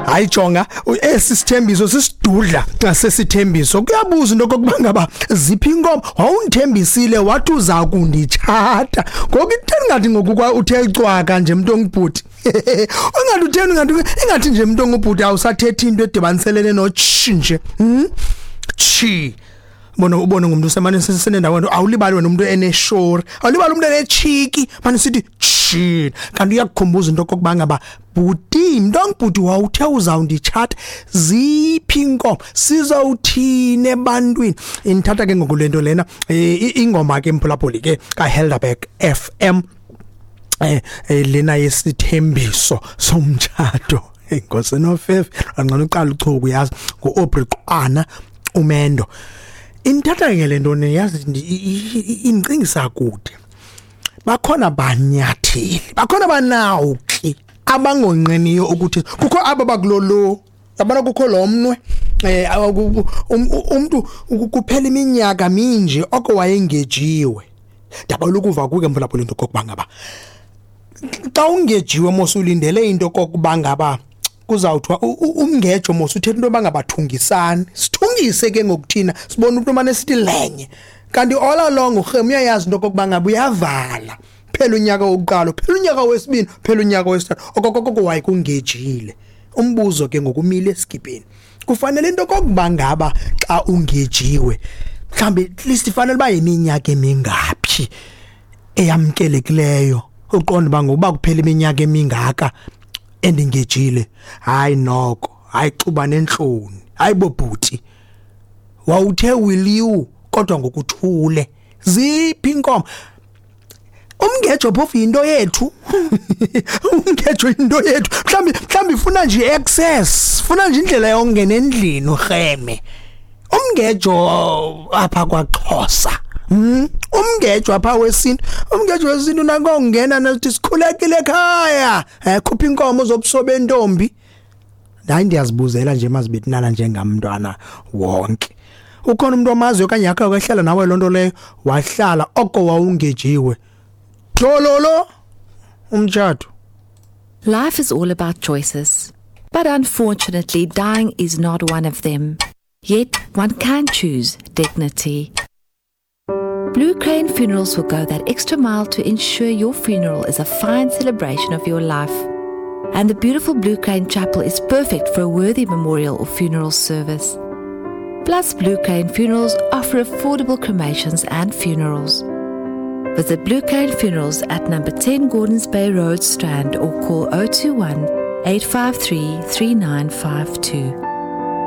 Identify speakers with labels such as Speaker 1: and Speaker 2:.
Speaker 1: Hayi jonga, esi sithembiso sisidudla sesithembiso. Kuyabuza into kokuba ngaba ziphi inkomo? Wawundithembisile wathi uza kunditshata. Ngoku itheni ngathi ngoku kwa uthe cwaka nje mntu ongubhuti? Ungathi utheni, ungathi ingathi nje mntu ongubhuti awusathethi into edibaniselene notshi nje. Tshi. Bona ubone ngumuntu usemane senendawo awulibali wena umuntu eneshori, awulibali umuntu enechiki, manje sithi tshi. Kanti uyakukhumbuza into kokuba ngaba bhuti, mntu ongubhuti wawuthe uzawunditshata, ziphi inkomo sizawuthini ebantwini? Indithatha ke ngoku lento lena, ingoma ke mphulaphuli ke kaHelderberg FM, lena yesithembiso somtshato. Inkosi nofefe angcono uqala uchuku, yazi nguAubrey Qwana umendo. Indithatha ke le nto yazi indicingisa kude. Bakhona banyatheli, bakhona banawuki abangonqeniyo ukuthi kukho aba bakulolo, yabona kukho lo mnwe, umuntu kuphela iminyaka minje oko wayengejiwe. Ndabona ukuva kuke mphulaphula into kokuba ngaba xa ungejiwe mos ulindele into kokuba ngaba kuzawuthiwa umngejo mos uthetha into bangabathungisani, sithungise ke ngokuthina sibone umuntu mane sithi lenye, kanti all along urhemu uyayazi into kokuba ngaba uyavala. Phela unyaka wokuqala, phela unyaka wesibini, phela unyaka wesithathu, okokoko wayekungejile. Umbuzo ke ngokumile esikipeni, kufanele into kokuba ngaba xa ungejiwe mhlambe at least ifanele uba yiminyaka emingaphi eyamkelekileyo uqonda uba ngokuba kuphela iminyaka emingaka endingejile? Hayi noko, hayi xuba nentloni, hayi bobhuti wawuthe will you, kodwa ngokuthule. Ziphi inkomo? Umngejo phofu yinto yethu. Umngejo yinto yethu. Mhlambi ifuna nje access, funa nje indlela yokungena endlini urheme. Umngejo apha kwaXhosa. Umngejo apha wesintu, umngejo wesintu nakongena nathi sikhulekile ekhaya. Khupha inkomo zobuso bentombi. Hayi ndiyazibuzela nje mazibethinana njengamntwana wonke. Ukhona umuntu omaziyo okanye yakhe wahlala nawe lonto leyo, wahlala oko wawungejiwe. Thololo umtshato.
Speaker 2: Life is all about choices, but unfortunately dying is not one of them. Yet one can choose dignity. Blue Crane Funerals will go that extra mile to ensure your funeral is a fine celebration of your life. And the beautiful Blue Crane Chapel is perfect for a worthy memorial or funeral service. Plus, Blue Crane Funerals offer affordable cremations and funerals. Visit Blue Crane Funerals at number 10 Gordons Bay Road, Strand, or call 021 853 3952.